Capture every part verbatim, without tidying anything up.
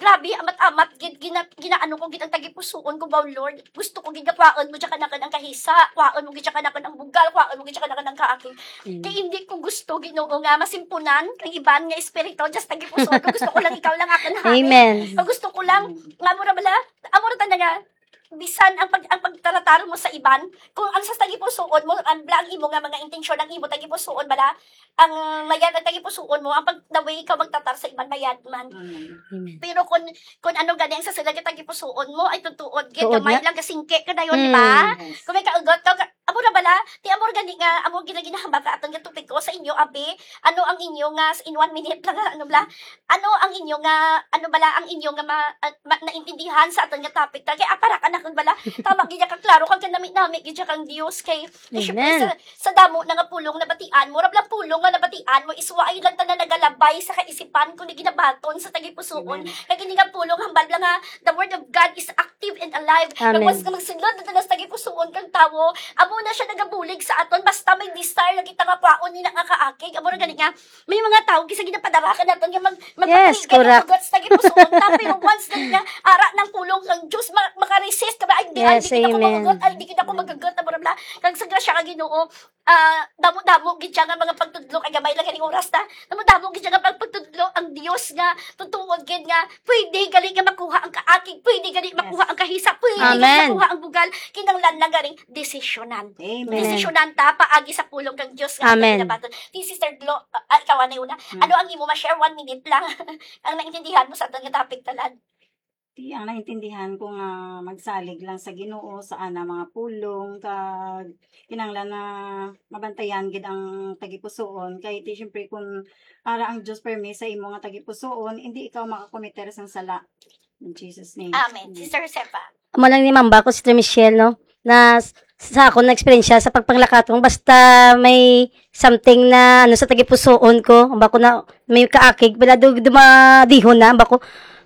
Grabe, amat-amat gid, gina-, ginaano ko gid ang tagipusoon ko, "Wow, Lord, gusto ko gid nga kwaon mo dyan kanakan ang kahisa, kwaon mo gid dyan kanakan ang bugal, kwaon mo gid dyan kanakan ang kaakig." Mm. Kay hindi ko gusto, Ginoo, nga masimpunan ang iban nga espiritu dyan sa tagipusoon ko. Gusto ko lang ikaw lang akon hain. Amen. Pag gusto ko lang, nga mura bala, amo ra tanda nga, bisan ang pag-, ang pagtaratar mo sa iban, kung ang sa tagipusoon mo, ang bla-, ang imo nga mga intensyon, ang imo tagipusoon bala, ang mayad ang tagipusoon mo, ang pag, the way ikaw magtatar sa iban, mayad man. Mm. Amen. Pero kung, kung ano gani ang sa sila nga tagipusoon mo, ay tutuod gid, Tuod gamay nga. lang, kasingke ka dayon, di ba? Mm. Yes. Kung may kaugot ka, ka-, amo ra bala, ti amo ra gani nga, amo gina-, ginahambal ka aton nga topiko sa inyo, abi, ano ang inyo nga, in one minute lang, ano bala, ano ang inyo nga, ano bala ang inyo nga ma-, ah, ma-, naintindihan sa aton nga topic? Kay apara ka na kung bala, tama gid ka klaro, kag kanami-nami gid kang Dios, kay, kay syempre, Amen. sa, sa damo na nga pulong nabatian mo, rab lang pulong nga nabatian mo, is wa ay lang tanan nagalabay sa kaisipan, kundi ginabaton sa tagipusoon. Amen. Kay gini nga pulong, hambal lang nga, the word of God is active and alive. Amen. Kag once nga magsulod na tanan sa tagipusoon kang tawo, amo na siya nagabulig sa aton, basta may desire na kita nga kwaon nila nga kaakig, amo ra gani nga, may mga tawo, kisa ginapadara ka naton nga mag-, Yes, magpatuloy ka correct. ng ugat sa tagipusoon ta, pero once na nga, ara ng pulong kang Diyos, ma-, makaresist ka ba? Ay, di, ay, Yes, di kita ko amen. makagot, ay, di kita ko magagot, amo ra bala. Kag sa grasya ka, Ginoo, ah, damo-damo gid siya nga mga pagtudlo, kay gamay lang ganing oras ta. Damo-damo gid siya nga pagpagtudlo ang Dios nga tutuod gid nga pwede gali nga makuha ang kaakig, pwede gali Yes. makuha ang kahisa, pwede gali Amen. makuha ang bugal. Kinahanglan lang ganing desisyonan. Amen. Desisyonan ta paagi sa pulong kang Dios nga Amen. aton ginabaton. Si Sister Glo, ah, ikaw anay una. Hmm. Ano ang imo ma-share? One minute lang. Ang naintindihan mo sa aton nga topic, tanan. Ti, ang naintindihan ko nga magsalig lang sa Ginoo sa ana mga pulong, kag kinahanglan na mabantayan gid ang tagipusoon. Kay ti, siyempre, kung ara ang Dios permi sa imo nga tagipusoon, hindi ikaw makakomiter sang sala. In Jesus' name. Amen. Amen. Sister Josefa. Amo lang ni Mamba ko, Sister Michelle, no? Na s-, sa akon na eksperyensya sa pagpanglakaton, basta may something na, ano, sa tagipusoon ko, ba ko na may kaakig, pala do, dumadihon na, ba ko,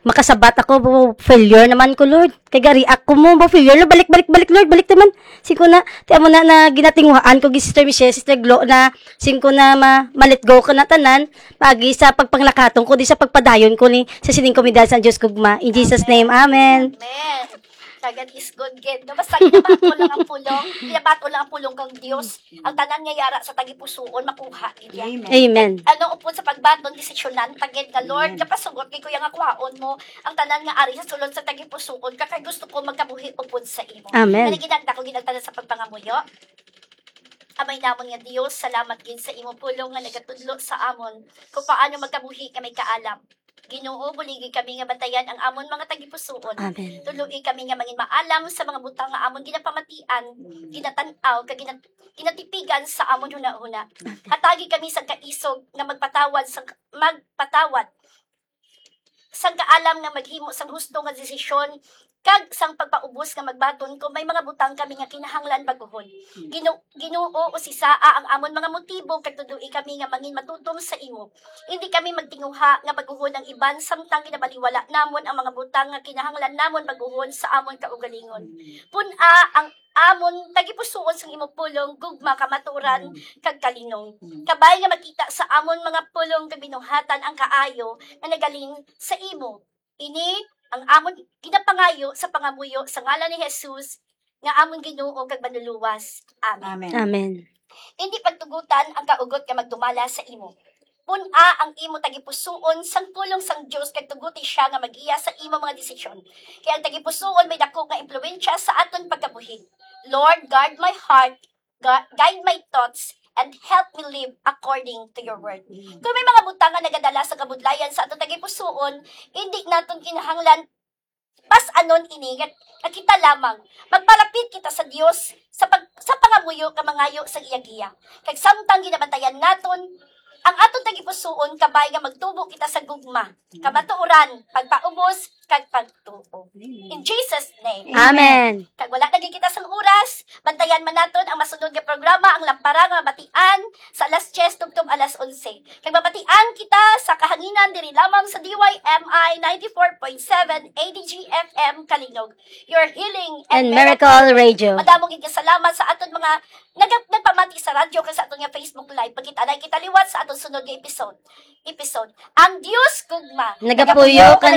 makasabat ako, "Bu-, failure naman ko, Lord." Kay gari ako mo, ba, failure, Lord, balik, balik, balik, Lord, balik naman. Sing ko na, ti amo na, na ginatinguhaan ko, gi Sister Michelle, Sister Glo, na sing ko na ma-, ma-let go ko na tanan, paagi sa pagpanglakaton ko, di sa pagpadayon ko ni, sa sining komedal sa Diyos gugma. In Jesus' name, amen. Amen. Amen. God is good, gid. No, basta ginabato lang ang pulong, ginabato lang ang pulong kang Dios. Ang tanan nga yara sa tagipusoon, makuha gid yan. Amen. Amen. Ano upod sa pagbaton, desisyonan ta gid nga, Lord, Amen. kapasugot kay kuya nga kwaon mo ang tanan nga ari sa sulod sa tagipusoon, ka kay gusto ko magkabuhi upod sa imo. Amen. Kani ginagda ko gid ang tanan sa pagpangamuyo. Amay namon nga Dios, salamat gid sa imo pulong nga nagatudlo sa amon kung paano magkabuhi nga may kaalam. Ginoo, buligi kami nga bantayan ang amon mga tagipusoon. Amen. Tuluoy kami nga mangin maalam sa mga butang nga amon ginapamatian, Mm. ginatan-aw, kag ginat-, ginatipigan sa amon hunahuna. Amen. Hatagi kami sang kaisog nga magpatawad, sang, magpatawad, sang kaalam nga maghimo sang husto nga desisyon, kag sang pagpaubos nga magbaton kung may mga butang kami nga kinahanglan baguhon. Mm. Ginu-, Ginoo, usisaa ang amon mga motibo, kag tuluoy kami nga mangin matutom sa imo. Indi kami magtinguha nga baguhon ang iban, samtang ginabaliwala namon ang mga butang nga kinahanglan namon baguhon sa amon kaugalingon. Mm. Pun-a ang amon tagipusoon sang imo pulong, gugma, kamatuoran, Mm. kag kalinong. Mm. Kabay nga makita sa amon mga pulong kag binuhatan ang kaayo nga nagaling sa imo. Ini ang amon ginapangayo sa pangamuyo sa ngalan ni Jesus, nga amon Ginoo kag Manluluwas. Amen. Amen. Amen. Indi pagtugutan ang kaugot nga magdumala sa imo. Pun-a ang imo tagipusoon sang pulong sang Dios, kag tuguti siya nga magiya sa imo mga desisyon. Kay ang tagipusoon may dako nga impluwensya sa aton pagkabuhi. Lord, guard my heart, gu-, guide my thoughts, and help me live according to your word. Mm. Kung may mga butang nga nagadala sa kabudlayan sa aton tagipusoon, indi naton kinahanglan pas-anon ini nga, nga kita lamang. Magpalapit kita sa Dios sa pag-, sa pangamuyo nga mangayo sa iya giya. Kag samtang ginabantayan naton ang aton tagipusoon, kabay nga magtubo kita sa gugma, kamatuoran, pagpaubos, kag pagtuo. Amen. In Jesus' name. Amen. Kag wala na gid kita sang oras, bantayan man naton ang masunod nga programa, ang Lampara nga Mabatian, sa alas diyes tubtob alas onse. Kag mabatian kita sa kahanginan diri lamang sa D Y M I ninety-four point seven A D G F M Kalinog, your healing and And miracle Miracle Radio. Madamo gid nga salamat sa aton mga nag-, nagpamati sa radyo kag sa aton nga Facebook Live. Magkita na kita liwat sa aton sunod nga episode. Episode. Ang Dios gugma. Nagapuyo ka, nagapuyo ka,